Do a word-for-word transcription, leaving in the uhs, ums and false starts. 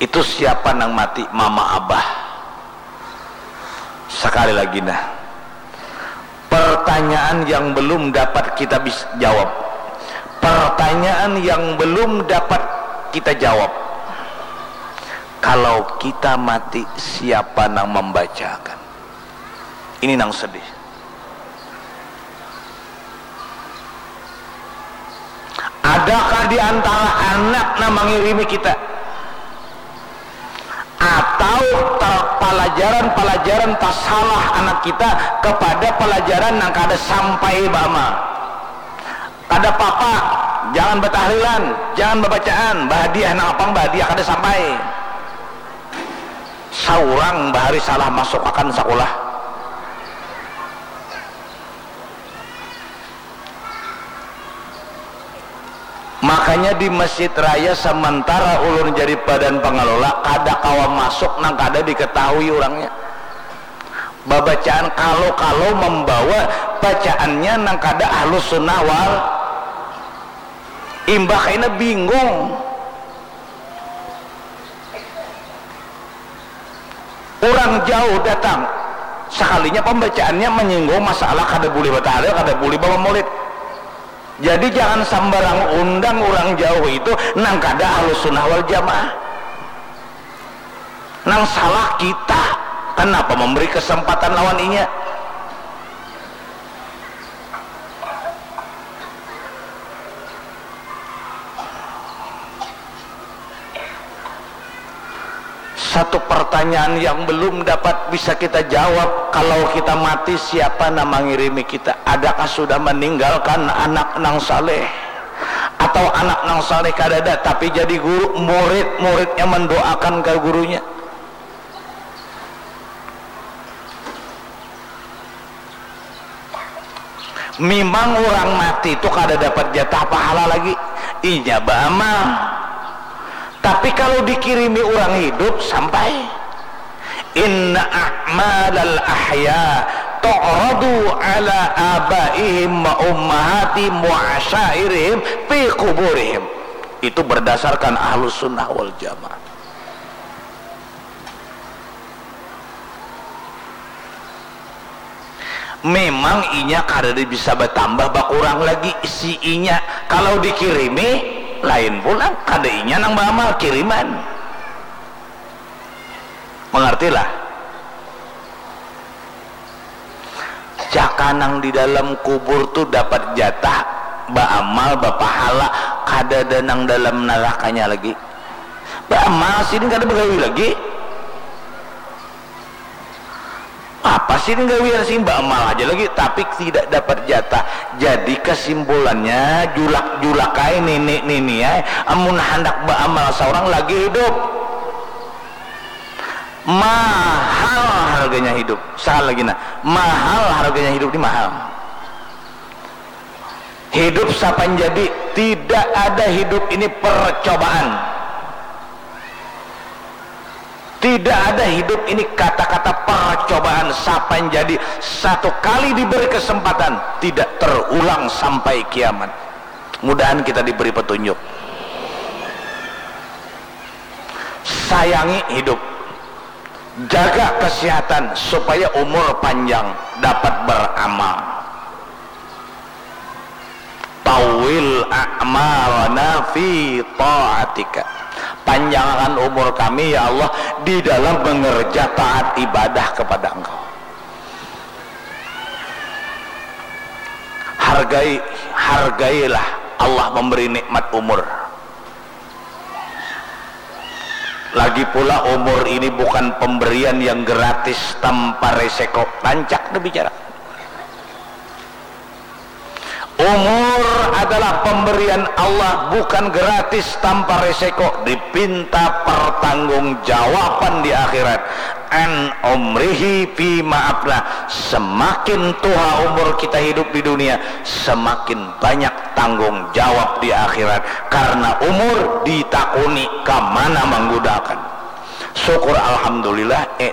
Itu siapa nang mati? Mama abah. Sekali lagi nah, pertanyaan yang belum dapat kita bis- jawab, pertanyaan yang belum dapat kita jawab, kalau kita mati siapa nang membacakan? Ini nang sedih. Adakah di antara anak nang mangirimi kita? Atau palajaran-palajaran tasalah anak kita kepada palajaran nang kada sampai baamal? Kada papa, jangan batahlilan, jangan babacaan, bahadiah nang apang bahadiah kada sampai. Saurang bahari salah masuk akan sakulah. Makanya di masjid raya samantara ulun jadi badan pangalola kada kawa masuk nang kada diketahui urangnya. Babacaan kalau-kalau mambawa bacaannya nang kada ahlus sunnah wal imbah kaina bingung. Urang jauh datang, sakalinya pambacaannya manyinggung masalah kada bulih batahalil, kada bulih bamamulid. Jadi jangan sambarang undang urang jauh itu nang kada ahlus sunnah wal jamaah. Nang salah kita, kanapa mambari kasempatan lawan inya? Satu pertanyaan yang belum dapat bisa kita jawab, kalau kita mati siapa nang mangirimi kita? Adakah sudah meninggalkan anak nang saleh? Atau anak nang saleh kadada tapi jadi guru, murid-muridnya mendoakan ke gurunya? Mimang urang mati tu kada dapat jatah pahala lagi, inya baamal. Tapi kalau dikirimi urang hidup sampai. Inna a'malal ahya tu'radu ala abaihim wa ummahatihim wa asyairihim fi kuburihim. Itu berdasarkan ahlus sunnah wal jamaah. Memang inya kadada bisa batambah bakurang lagi si inya. Kalau dikirimi, lain pulang. Kada inya nang baamal, kiriman. Mangartilah? Jaka nang di dalam kubur tu dapat jatah baamal, bapahala, kadada nang dalam narakanya lagi. Baamal sidin kada bagawi lagi. Apa sidin gawian sidin baamal haja lagi, tapi tidak dapat jatah. Jadi kasimpulannya, julak-julak ai nini-nini ai, amun handak baamal saurang lagi hidup. Mahal harganya hidup. Sakali lagi nah, mahal harganya hidup ni, mahal. Hidup sapan jadi, tidak ada hidup ini percobaan. Tidak ada hidup ini kata-kata percobaan, sapan jadi, satu kali diberi kesempatan, tidak terulang sampai kiamat. Mudahan kita diberi petunjuk. Sayangi hidup. Jaga kesehatan supaya umur panjang, dapat beramal. Tawil a'malana fi ta'atika. Panjangakan umur kami, ya Allah, di dalam mengerja taat ibadah kepada Engkau. Hargai, hargailah Allah memberi nikmat umur. Lagi pula, umur ini bukan pemberian yang gratis tanpa reseko. Rancak dah bicara. Umur adalah pemberian Allah, bukan gratis tanpa reseko. Dipinta pertanggungjawaban di akhirat. An umrihi fi ma'ablah. Semakin tuha umur kita hidup di dunia, semakin banyak tanggung jawab di akhirat, karena umur ditakuni kamana manggunakan. Syukur alhamdulillah, eh,